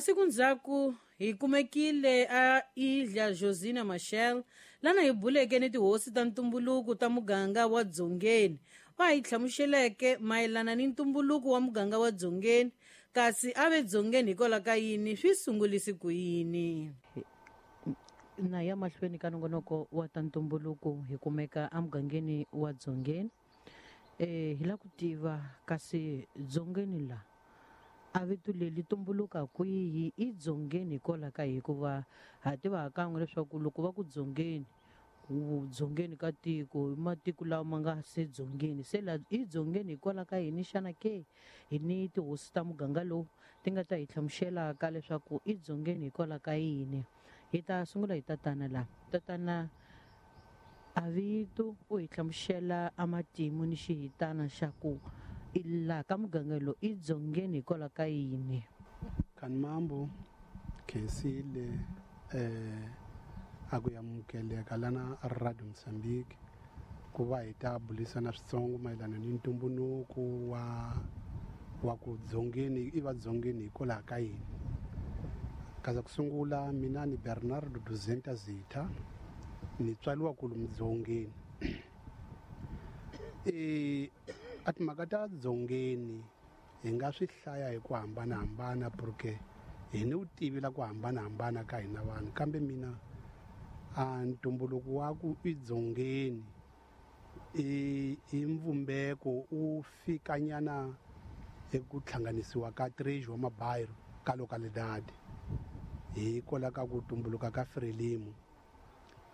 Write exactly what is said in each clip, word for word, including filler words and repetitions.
Masiku ndzhaku hi kumekile a Ilha Josina Machel lana hi buleke ni tihosi ta ntumbuluko ta muganga wa Dzongeni va hi hlamuseleke mayelana ni ntumbuluko wa muganga wa Dzongeni kasi a ve Dzongeni hikwalaho ka yini swi sungulisi ku yini. Na ya mahlweni ka nongonoko wa ta ntumbuluko hi kumeka emugangeni wa Dzongeni. Eh hi la ku tiva kasi Dzongeni la a vito leri tumbuluka kwihi i Dzongeni hikwalaho ka hikuva ha tiva kan'we leswaku loko va ku Dzongeni Dzongeni ka tiko matiko lawa ma nga se Dzongeni se la i Dzongeni hikwalaho ka yini xana ke hi ni tihosi ta muganga lowu ti nga ta hi hlamuselaka leswaku i Dzongeni hikwalaho ka yini. Hi ta sungula hi tatana la tatana a vito u hi hlamusela a matimu ni xihitana xa ku la ka muganga lowu i Dzongeni hikwalaho ka yini. Kanimambo khensile eh a ku amukeleka lana Radio Mozambique ku va hi ta bulisana switsongo mayelana ni ntumbuluko wa wa ku Dzongeni i va Dzongeni hikwalaho ka yini. Kaza ku sungula mina ni Bernardo Duzenta Zitha ni tswariwa kulu Dzongeni. E a timhaka ta Dzongeni hi nga swi hlaya hi ku hambanahambana porque hi ni vutivi la ku hambanahambana ka hina vanhu kambe mina a ntumbuluko wa ku i Dzongeni i i mvumbeko u fikanyana eku hlanganisiwa ka três wa mabairro ka localidade hikwalaho ka ku tumbuluka ka Frelimo.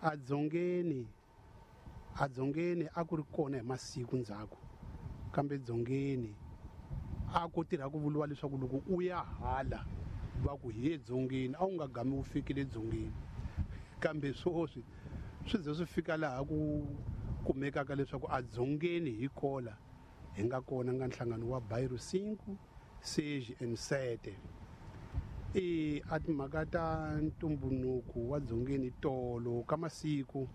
A Dzongeni a Dzongeni a ku ri kona hi masiku ndzhaku kambe Dzongeni a ku tirha ku vuriwa leswaku loko u ya hala va ku hi Dzongeni a wu nga gami wu fikile Dzongeni kambe sweswi swi ze swi fika laha ku kumekaka leswaku a Dzongeni hi kola hi nga kona nga nhlangano wa bairro cinco seis and sete. E a timhaka ta ntumbuluko wa Dzongeni tolo ka masiku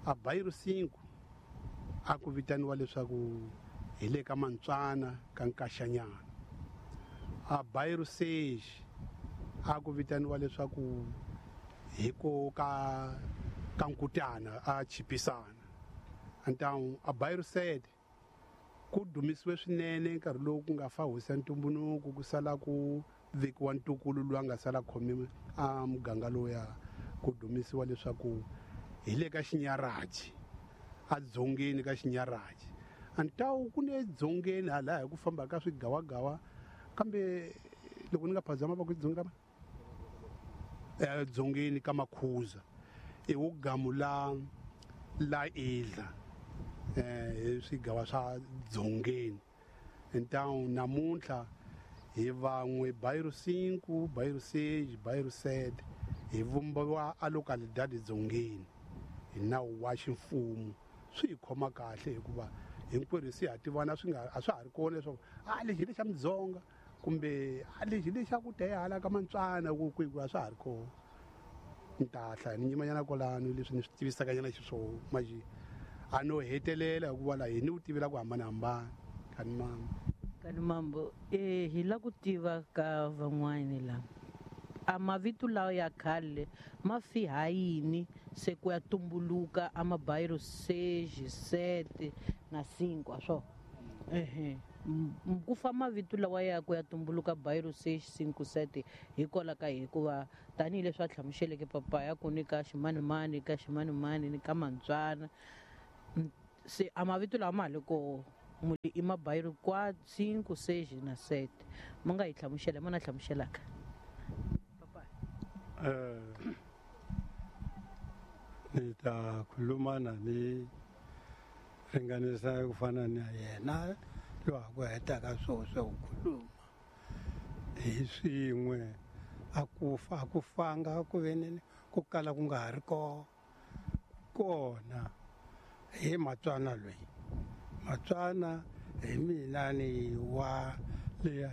a bairro cinco a ku vitaniwa leswaku hi le ka Mantswana ka Nkaxanyana. A bairro seis a ku vitaniwa leswaku hi ko ka ka Nkutana a Chipisana. Então a bairro sete ku dumisiwe swinene nkarhi lowu ku nga fa hosi ya ntumbuluko ku sala ku vekiwa ntukulu loyi a nga sala khomiwe a muganga lowuya ku dumisiwa leswaku hi le ka Xinyaraji a Dzongeni ka Xinyaraji. Então ku ne Dzongeni hala hi ku famba ka swigawagawa kambe loko ni nga phazama va ku Dzongeni ka Dzongeni ka Makhuza i wu gamu la la Idla eh swigawa swa Dzongeni. Então namuntlha hi van'we bairro cinco bairro seis bairro sete hi vumbiwa a localidade Dzongeni hi nawu wa ximfumo. Swi hi khoma kahle hikuva hinkwerhu se ha tivana swi nga a swa ha ri kona leswaku a lexi hi lexa Mudzonga kumbe a lexi hi lexa ku dya hala ka Mantswana ku kwihi a swa ha ri kona. Ni ta hlaya ni nyimanyana kwalano leswi ni swi tivisaka nyana xiswona manje a no hetelela hikuva laha hi ni vutivi la ku hambanahambana. Kanimambo Kanimambo eh hi la ku tiva ka van'wani la a mavito lawa ya khale ma fi ha yini se ku ya tumbuluka a mabairro seis sete na cinco a swo ehe ku fa mavito lawa ya ku ya tumbuluka bairro seis cinco sete hikwalaho ka hikuva tanihileswi a hlamuseleke papa ya ku ni ka ximanimani ka ximanimani ni ka Mantswana se a mavito lawa ma ha le koho muli i mabairro quatro cinco seis na sete ma nga hi hlamusela ma na hlamuselaka papa. Eh ni ta khuluma ni ringanisa ku fana na yena loyi a ku hetaka swo swa ku khuluma hi swin'we a ku fa a ku fanga ku ve ku kala ku nga ha ri kona kona hi Matswana loyi Matswana hi mina ni wa le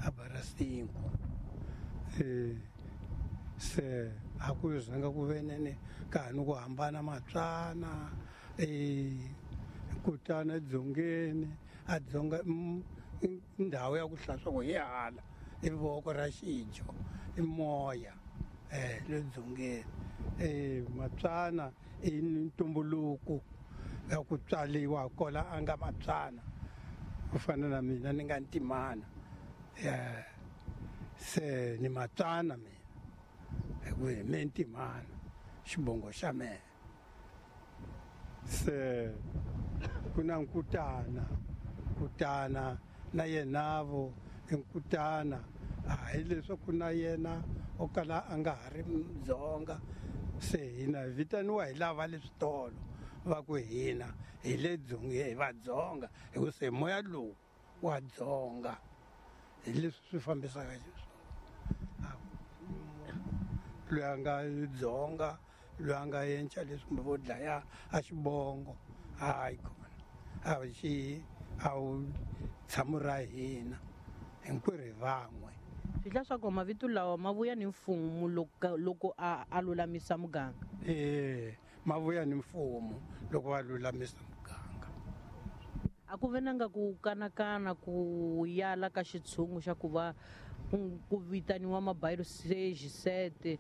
a bara cinco eh se a ku zanga ku venene ka ha ni ku hambana Matswana eh Kutana Dzongeni a Dzonga ndhawu ya ku hlaswa ku hi hala I voko ra xijo i moya eh le dzongeni eh Matswana i ntumbuluko ya ku tswaliwa kola a nga Matswana ku fana na mina ni nga Ntimana eh se ni Matswana mina hi ku hi me Ntimana xibongo xa mehe se ku na Nkutana Nkutana na yenavo i Nkutana a hi leswaku na yena o kala a nga ha ri Mudzonga se hina hi vitaniwa hi lava le switolo va ku hina hi le dzongeni hi Vadzonga hi ku se moya lowu wa Dzonga hi leswi swi fambisaka xiswona loyi a nga Dzonga loyi a nga yenca leswi kumbe vo dlaya a xibongo hayi kona a xi a wu tshamo ra hina hinkwerhu hi van'we swi hla swa ku mavito lawa ma vuya ni mfumo loko loko a a lulamisa muganga eh ma vuya ni mfumo loko va lulamisa muganga a ku ve na nga ku kanakana ku yala ka xitshungu xa ku va ku ku vitaniwa mabayiro seis sete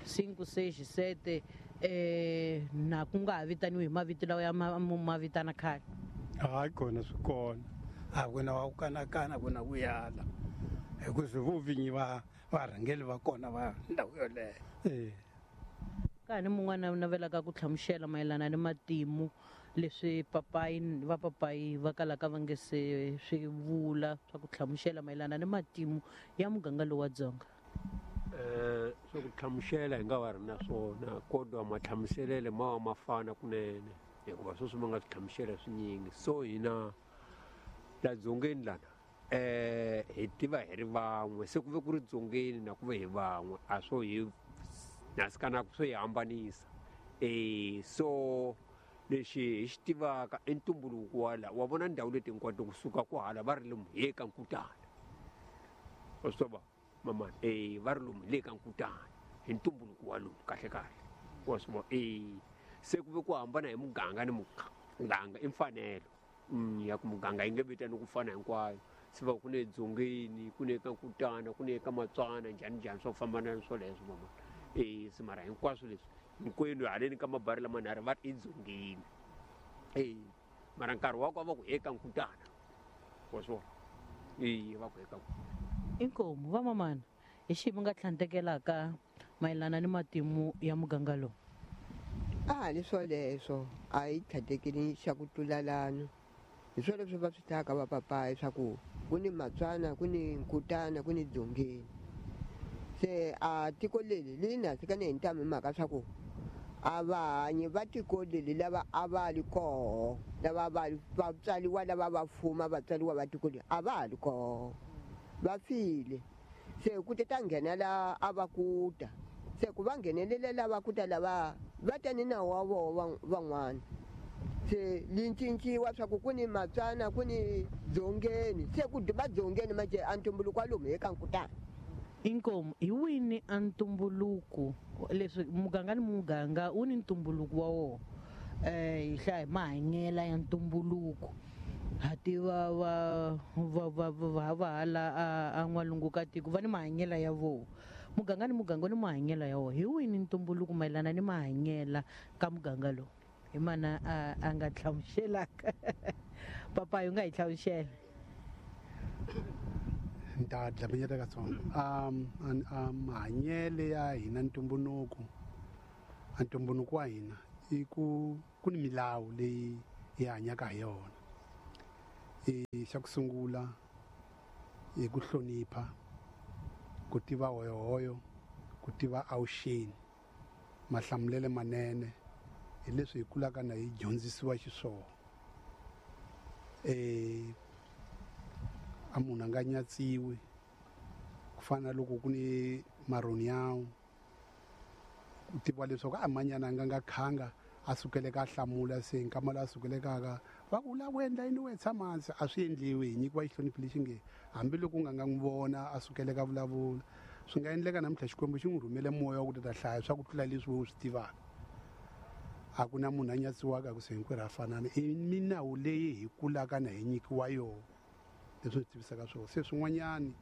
cinco seis sete eh na ku nga ha vitaniwi hi mavito lawa ya ma ma vitana khale hayi kona swi kona a ku na wa ku kanakana ku na ku yala hi ku swi vo vinyi va varhangeli va kona va ndhawu yoleyo eh ka ha ni mun'wana u navelaka ku hlamusela mayelana ni matimu leswi papayi va papayi va kalaka va nge se swi vula swa ku hlamusela mayelana ni matimu ya muganga lowu wa Dzonga eh swa ku hlamusela hi nga va ri na swona kodwa mahlamuselele ma va ma fana kunene hikuva sweswi ma nga swi hlamusela swinyingi so hina la dzongeni lana eh hi tiva hi ri van'we se ku ve ku ri dzongeni na ku ve hi van'we a swo hi nasikana swo hi hambanisa eh so lexi hi xi tivaka i ntumbuluko wa la wa vona ndhawu leti hinkwato kusuka ku hala va ri lomu hi ka Nkutana wa swi tiva mamani eh va ri lomu hi le ka Nkutana hi ntumbuluko wa lomu kahle kahle wa swi vona eh se ku ve ku hambana hi muganga ni muganga i mfanelo ya ku muganga yi nge vitani ku fana hinkwayo se va ku ne dzongeni ku ne ka Nkutana ku ne ka Matswana njhani njhani swo fambana swoleswo mama eh se mara hinkwaswo leswi hinkwenu haleni ka mabari lamanharhu va ri i dzongeni eh mara nkarhi wa ku va ku eka Nkutana wa swi vona eh va ku eka inkomu va mamana hi xihi mi nga tlhantekelaka mayelana ni matimu ya muganga lowu a ni swoleswo a hi tlhantekeli xa ku tlulalano hi swoleswo va swi hlaka va papayi swa ku ku ni Matswana ku ni Nkutana ku ni Dzongeni se a tiko leri li na ni hi ntamu hi mhaka swa ku a va hanyi va tiko leri lava a va li koho lava va va tswariwa lava va fuma va tswariwa va tiko leri a va ha li koho va file se ku te ta nghena la a va kuta se ku va nghenelela lava kuta lava va ta ni nawu wa voho van'wana se li cinciwa swa ku ku ni Matswana ku ni Dzongeni se ku va Dzongeni manje a ntumbuluko wa lomu hi ka Nkutana inkomu hi wini a ntumbuluko leswi muganga ni muganga wu ni ntumbuluko wa wona eh hi hlaya hi mahanyela ya ntumbuluko ha tiva va va va va va hala a n'walungu ka tiko va ni mahanyela ya vona muganga ni muganga ni mahanyela ya wona hi wini ntumbuluko mayelana ni mahanyela ka muganga lowu hi mana a a nga hlamuselaka papayi u nga hi hlamusela ni ta dlaminyeta katsongo um mahanyele ya hina ntumbuluko a ntumbuluko wa hina i ku ku ni milawu leyi hi hanyaka hi yona i xa ku sungula i ku hlonipha ku tiva hoyohoyo ku tiva awuxeni mahlamulele manene hi leswi hi kulaka na hi dyondzisiwa xiswona eh a munhu a nga nyatsiwi ku fana na loko ku ni maroniyawu ku tiviwa leswaku a manyana a nga nga khanga a sukeleka a hlamula se nkama lowu a sukelekaka va ku u lava ku endla yini we tshama hansi a swi endliwi hi nyikiwa xihlonipho lexi nge hambiloko u nga nga n'wi vona a sukeleka vulavula swi nga endleka namuntlha Xikwembu xi n'wi rhumele moya wa ku ta ta hlaya swa ku tlula leswi we u swi tivaka a ku na munhu a nyatsiwaka ku se hinkwerhu a fanana i minawu leyi hi kulaka na hi nyikiwa yona leswi swi tivisaka swona se swin'wanyani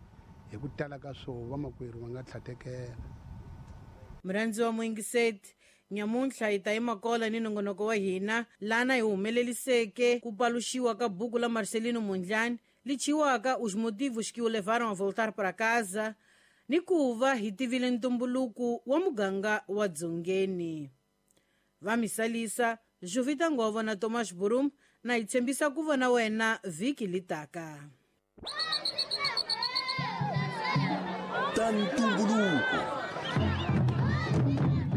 Hi ku tala ka swo vamakwerhu va nga tlhatekela. Murhandzi wa muyingiseti, nyamuntlha hi ta yima kola ni nongonoko wa hina lana hi humeleliseke ku paluxiwa ka buku la Marcelino Mondlane li chiwaka Os Motivos que o Levaram a Voltar para Casa, ni ku va hi tivile ntumbuluko wa muganga wa Dzongeni. Va misalisa Jovita Ngova na Thomas Burum, na hi tshembisa ku vona wena vhiki litaka. Ta ntumbuluko.